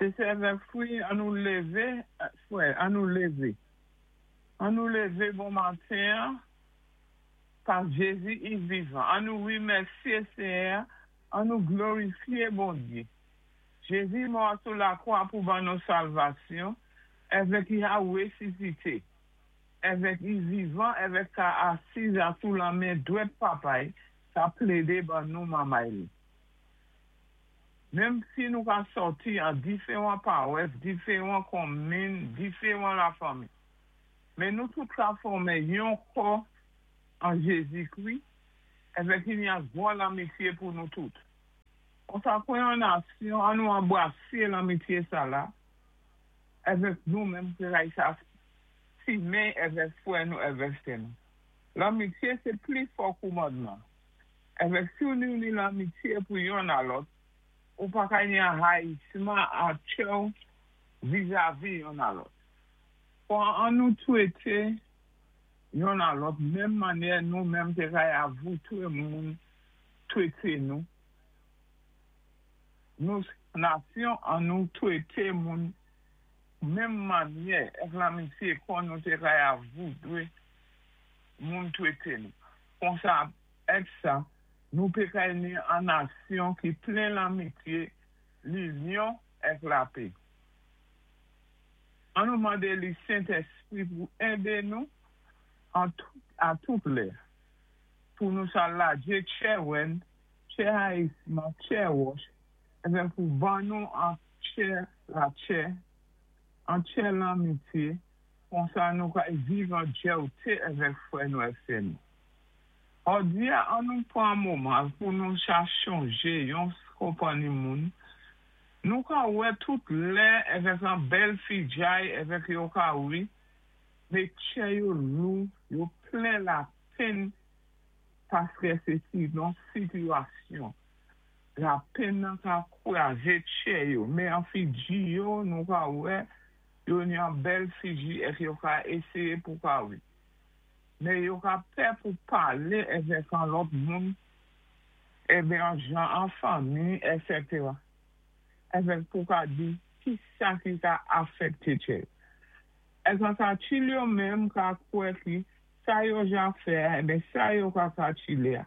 Sé sè èvèk frè, an nou lévé, frè, an nou lévé. An nou lévé bon matin, pa Jézi i vivan. An nou wimèsyé Séyè, an nou glorifyé Bondyé. Jézi mò sou lakwa pou ban nou salvasyon, èvèk i a wésisité. Èvèk i vivan, èvèk ka asiz a sou lamen dwèt Papa'y, ka plédé ban nou manmay li. Menm si nou ka sòti an diféwan pawès, diféwan konminn, diféwan lafanmi. Men nou tout ka fòmé yon kò an Jézi-Kri, èvèk i ni an gwan lanmityé pou nou tout. Konsa kwen an nasyon, an nou anbrasé lanmityé sa la, èvèk nou menm ki sa simen èvèk fwè nou, èvèk sè nou. Lanmityé sé pli fò kòmandman. Èvèk si ou ni lanmityé pou yonn a lòt, ou pa ka ni an rayisman an tchè vizavi yonn a lòt. Fò an nou twété yonn a lòt, menm mannyè nou menm té kay a voutwé moun twété nou. Nou nasyon an nou twété moun menm mannyè èk lanmityé kon nou té kay a voudwé moun twété nou. Konsa èk sa, nou pé kay ni an nasyon ki plen lanmityé, linyon èk lapé. An nou mandé li Sentéspri pou édé nou an tout, a tout lè. Pou nou sa ladjé tchè wèn, tchè rayisman, tchè wòch, èvèk pou ban nou an tchè latchè, an tchè lanmityé, konsa nou kay viv an djèwté èvèk fwè nou èk sè nou. Òdi-a, an nou pran moman pou nou sa chonjé yon konpanni moun. Nou ka wè tout lè èvèk an bèl fijay èvèk yo ka wi, mé tchè yo lou, yo plen lapenn paskè sé sinon sitiyasyon. Lapenn nan ka kwazé tchè yo, mé an fiji yo nou ka wè yo ni an bèl fiji èk yo ka éséyé pou ka wi. Mé yo ka pè pou palé èvèk an lòt moun, èbè an jan an fanmi, èsètèra. Èvèk pou ka di ki sa ki ka afèkté tchè yo. Èk an katil yo menm ka kwè ki sa yo ja fè a, èbè sa yo ka katilé a.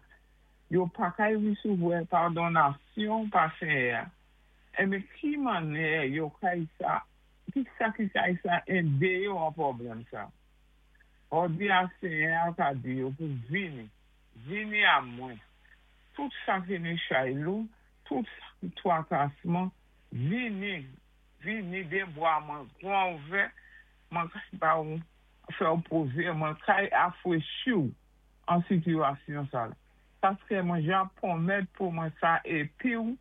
Yo pa kay wisouwè padonnasyon pa Séyè a. Èbè ki mannyè yo kay sa, ki sa ki kay sa édé yo an pwoblèm sa? Òdi a Séyè a ka di yo pou vini, vini a mwen. Tout sa ki ni chay lou, tout sa ki twakasman, vini, vini dé bwa mwen gwan ouvè, mwen kay ba ou fè ou pozé, mwen kay afwechi ou an sitiyasyon sa la. Paskè mwen ja pwomèt pou mwen sa épi ou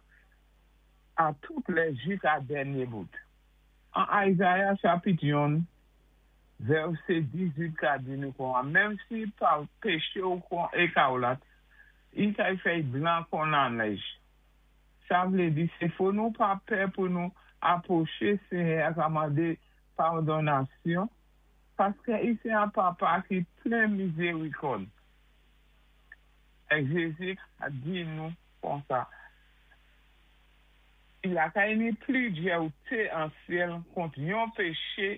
a tout lè jik a dènyé bout. An Isaiah chapit 1, vèsé 18 ka di nou kon an, menm si pa péché ou kon ékawlat, i kay fè'y blan kon lanèj. Sa vlé di, sé fò nou pa pè pou nou apwoché Séyè a ka mandé padonnasyon, paskè i sé an Papa ki plen mizérikòd. Èk Jézi a di nou konsa, i la kay ni pli djèwté an syèl kont yon péché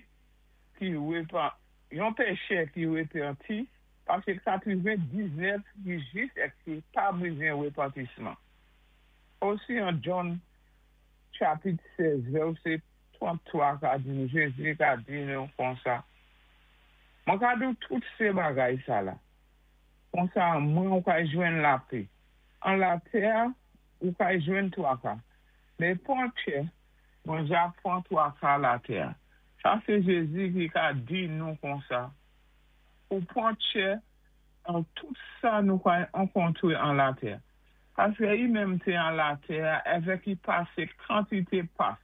ki repan, yon péchè ki wépanti, pasé 99 ki jis èk ki pa bizwen wépantisman. Osi an John chapit 16, vèsé 33 ka di nou, Jézi ka di nou konsa, Mwen ka di ou tout sé bagay sa la. Konsa mwen ou kay jwenn lapé. An latè ou kay jwenn twaka. Mé pwan tchè, mwen ja pwan twaka latè. Sa sé Jézi ki ka di nou konsa. Pou pwan tchè an tout sa nou kay ankontwé an latè. Paskè i menm té an latè èvèk i pasé kantité pas.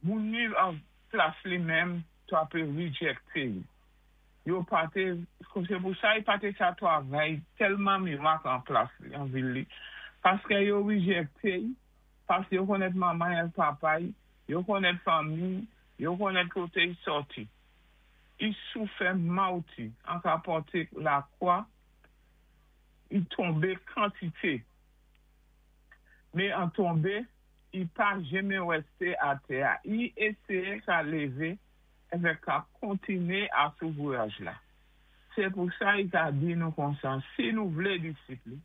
Moun ni an plas li menm ta pé rijèkté li. Yo pa té, sé pou sa i pa té sa twavay tèlman mirak an plas li, an vil li. Paskè yo rijèkté i, paskè yo konnèt manman èk papa'y, yo konnèt fanmi, yo konnèt koté i sòti. I soufè mawti an ka pòté lakwa, i tonbé kantité. Mé an tonbé, I pa jenmen wèsté atè-a. I éséyé ka lévé èvèk ka kontiné asou vwayaj la. Sé pou sa i ka di nou konsa, si nou vlé disip li,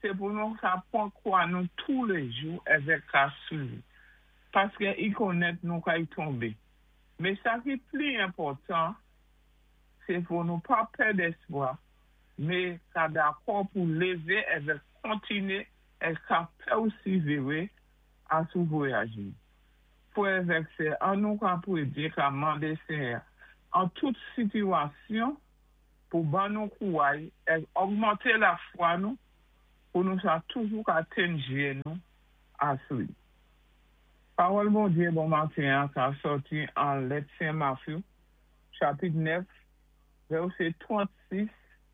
sé pou nou ka pwan kwa nou touléjou èvèk ka swiv li. Paské i konnèt nou kay tonbé. Mé sa ki pli enpòtan, sé pou nou pa pèd èspwa, mé ka dakò pou lévé èvèk kontiné é ka pèsivéré asou vwayaj nou. Frè èvèk sè, an nou ka pwédyé ka mandé Séyè an tout sitiwasyon pou ban nou kouway é ògmanté lafwa nou pou nou sa toujou ka tenn jyé nou asou li. Pawòl Bondyé bon maten-an ka sòti an lèt Sen Matthew, chapit 9, vèsé 36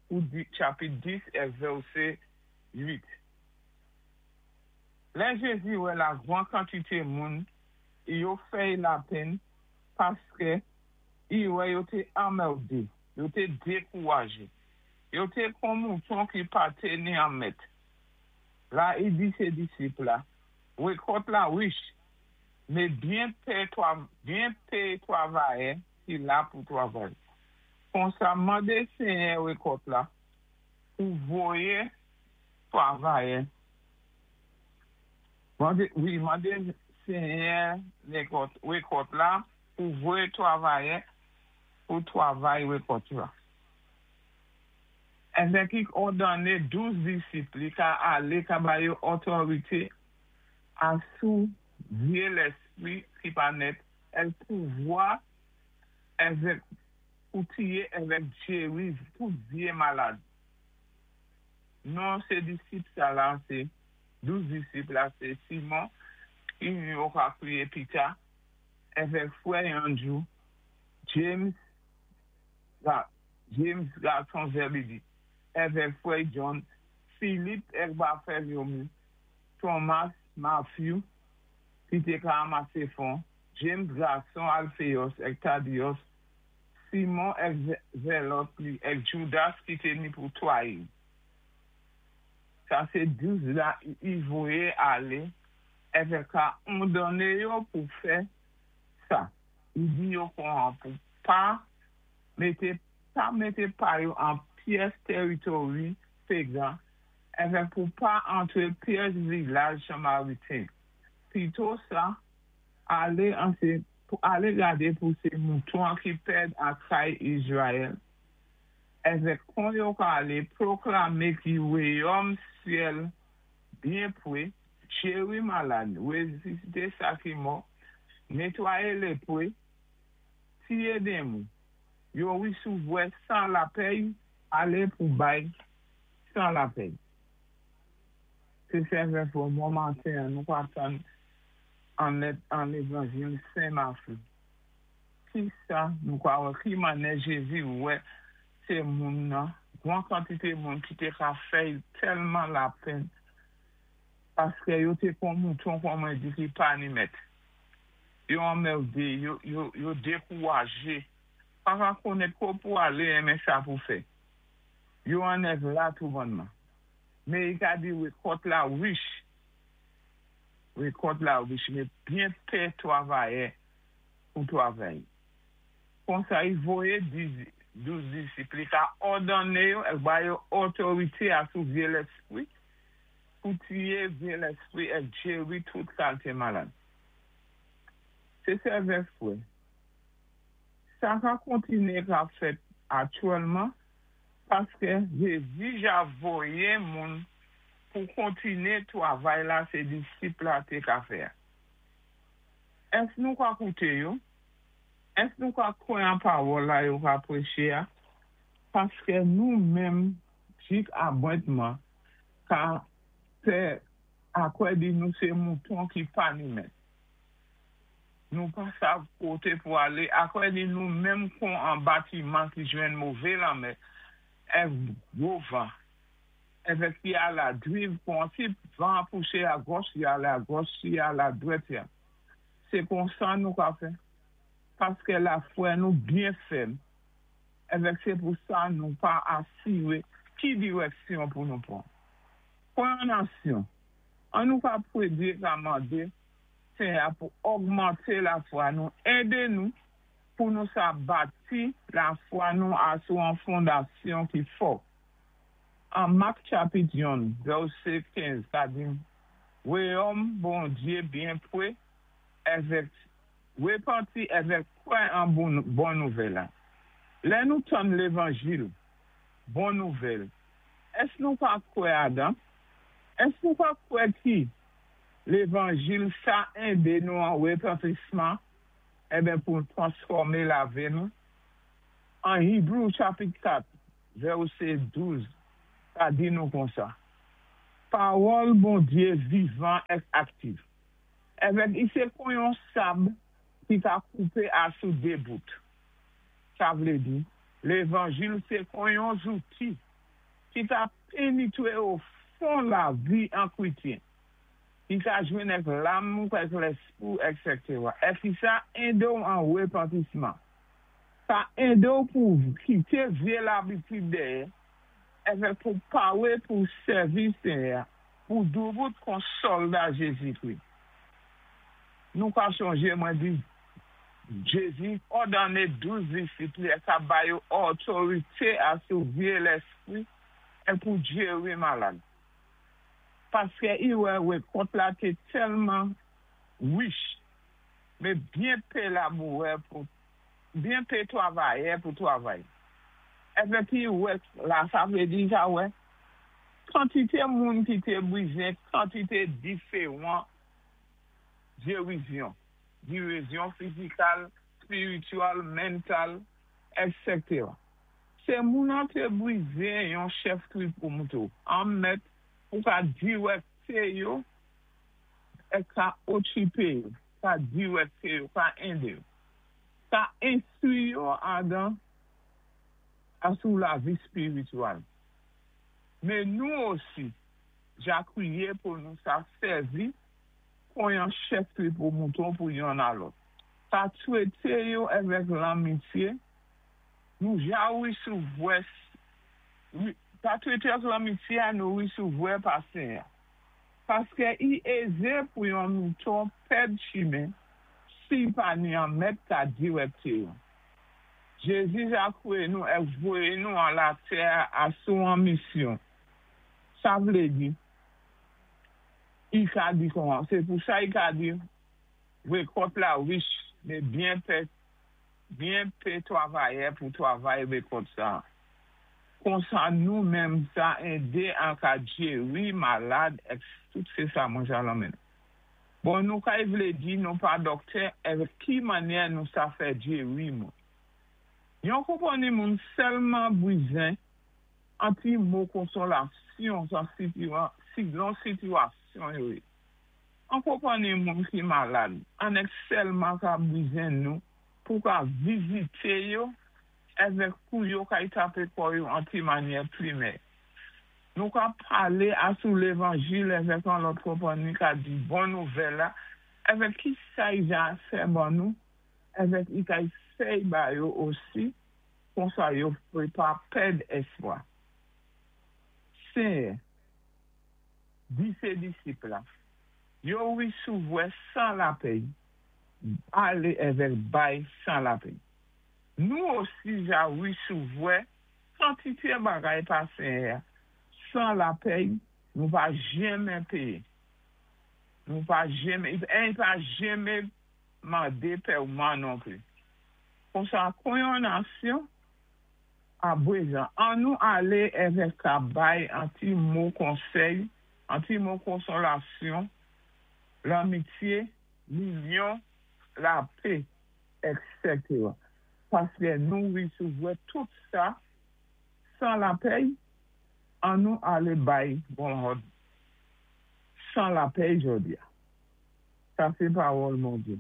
pou di chapit 10 é vèsé 8. Lè Jézi wè la gwan kantité moun, yo fè-y lapenn paské i wè yo té anmèdé, yo té dékouwajé. Yo té kon mouton ki pa té ni an mèt. La i di sé disip la, Wékòt la wich, mé byen pé byen pé twavayè ki la pou twavay. Konsa mandé Séyè wékòt la pou voyé twavayè. Mandé, wi, mandé Séyè wékòt la pou voyé twavayè pou twavay wékòt la. Èvèk i òdonné 12 disip li ka alé ka ba yo òtorité asou vyé lèspwi ki pa nèt é pouvwa èvèk pou tiyé èvèk jéri tout vyé malad. Non sé disip sa la sé 12 disip la sé Simon ki yo ka kwiyé Pita èvèk frè Andjou, James James gason Zébédé, èvèk frè John, Philippe èk Barthélemy, Thomas, Matthew, ki té ka ranmasé fon, James gason Alphéos èk Thaddeus, Simon èk Zélòt li èk Judas ki té ni pou twayi. Sa sé 12 la i voyé alé èvèk ka òdonné yo pou fè sa. I di yo kon pou pa mété pa mété pa yo an pyès tèwitori pégan èvèk pou pa antré pyès vilaj Samariten. Pito sa, alé an sé pou alé gadé pou sé mouton ki pèd a kay Izrayèl. Èvèk kon yo ka alé pwoklamé ki wayòm syèl byen pwé, jéri malad, wésisité sa ki mò, nétwayé lépwé, tiyé démon. Yo wésivwa san lapèy, alé pou bay san lapèy. Sé sè frè, bon maten, nou ka tann an lèt an Lévanjil Sen Matthew. Ki sa nou ka wè ki manè Jézi wè sé moun nan, gwan kantité moun ki té ka fè tèlman lapenn paské yo té kon mouton kon mwen di ki pa ni mèt. Yo anmèdé, yo, yo, yo dékouwajé. Pa ka konnèt ko pou alé enmen sa pou fè. Yo annèv la tou bonnman. Mé i ka di wékòt la wich. Wékòt la wich, mé byen pé twavayè pou twavay. Konsa i voyé 12 disip li ka òdonné yo èk ba yo òtorité asou vyé lèspwi pou tiyé vyé lèspwi èk jéri tout kalité malad. Sé sè èvèk frè. Sa ka kontiné ka fèt aktyèlman paské Jézi ja voyé moun pou kontiné twavay la sé disip la té ka fè. Ès nou ka kouté yo? Ès nou ka kwè an pawòl la yo ka pwéché-a? Paské nou menm jik abwentman ka fè akwè di nou sé mouton ki pa ni mèt. Nou pa sav koté pou alé, akwè di nou menm kon an batiman ki jwenn mové lanmè, èk gwo van, èvèk ki ala driv kon si van pouché a gòch, li alé a gòch, si alé a dwèt ya. Sé konsa nou ka fè, paské lafwa nou byen fèm, èvèk sé pou sa nou pa asiré ki dirèksyon pou nou pwan. Pwan an aksyon, an nou ka pwédyé ka mandé. Senyè pou ogmanté lafwa nou, édé nou pou nou sa bati lafwa nou asou an fondasyon ki fò. An Mak chapit 1, vèsé 15, sa di, "Wayòm Bondyé byen pwé, èvèk wépanti èvèk kwè an bon nouvèl la." Lè nou tann lévanjil, bon nouvèl, èsk nou ka kwè adan? Èsk nou ka kwè ki lévanjil sa édé nou an wépantisman èben pou transfòmé lavi nou? An Ebre chapit 4, vèsé 12, sa di nou konsa: "Pawòl Bondyé vivan èk aktif. Èvèk i sé kon yon sab ki ka koupé asou dé bout." Sa vlé di, lévanjil sé kon yon zouti ki ka pénétwé o fon lavi an kwétyen, ki ka jwenn èk lam ou èk léspwi, etc. Èpi sa édé ou an wépantisman. Sa édé ou pou kité vyé labitid dèyè, èvèk pou pawé pou sèvi Senyè, pou doubout kon sòlda Jézi-Kri. Nou ka chonjé mwen di, Jézi òdonné 12 disip li ka ba yo otorité asou vyé léspwi é pou jéri malad. Paské i wè wékòt la té tèlman wich, mé byen pé labourè pou byen pé twavayè pou twavay. Èvèk i wè la sa vlé di sa wè, kantité moun ki té bwizén, kantité diféwan jérizyon, jérizyon fizikal, spirityèl, mantal, etc. Sé moun an té bwizén yon chèf twoupo mouton, an mèt pou ka diwèkté yo é ka okipé yo, ka diwèkté yo, ka édé yo. Ka enstwi yo adan asou lavi spirityèl. Mé nou osi, ja kwiyé pou nou sa sèvi kon yon chèf twoupo mouton pou yonn a lòt. Ka twété yo èvèk lanmityé, nou ja wisovwè, ka twété avèk lanmityé a nou wisovwè pa Senyè. Paské i ézé pou yon mouton pèd chimen, si pa ni an mèt ka diwèkté yo. Jézi ja kwé nou é voyé nou an latè asou an misyon. Sa vlé di, i ka di kon, sé pou sa i ka di, wékòt la wich, mé byen pé, byen pé twavayè pou twavay wékòt sa. Konsa nou menm sa édé an ka jéri malad, èk tout sé sa mwen ja lanmen. Bon, nou kay vlé di nou pa dòktè, èvèk ki mannyè nou sa fè jéri moun. Yon konpanni moun sèlman bwizen an ti mo konsolasyon san silon sitiyasyon yo yé. An konpanni moun ki malad, an èk sèlman ka bwizen nou pou ka vizité yo èvèk pou yo kay tapé kò yo an ti mannyè pli mèyè. Nou ka palé asou lévanjil èvèk an lòt konpanni ka di bon nouvèl la, èvèk ki sa i ja fè ban nou, èvèk i kay fèy ba yo osi, konsa yo pé pa pèd éspwa. Senyè, di sé disip la, yo wisovwè san lapèy, alé èvèk bay san lapèy. Nou osi ja wisovwè kantité bagay pa Senyè, san lapèy, nou pa jenmen péyé. Nou pa jenmen, é pa jenmen mandé pèyman non pli. Konsa kon yon nasyon, abwezan, an nou alé èvèk ka bay an ti mo konsèy, an ti mo konsolasyon, lanmityé, linyon, lapè, etc. Paské nou wisovwè tout sa san lapèy, an nou alé bay bon hòd san lapèy jòdi a. Sa sé pawòl Bondyé.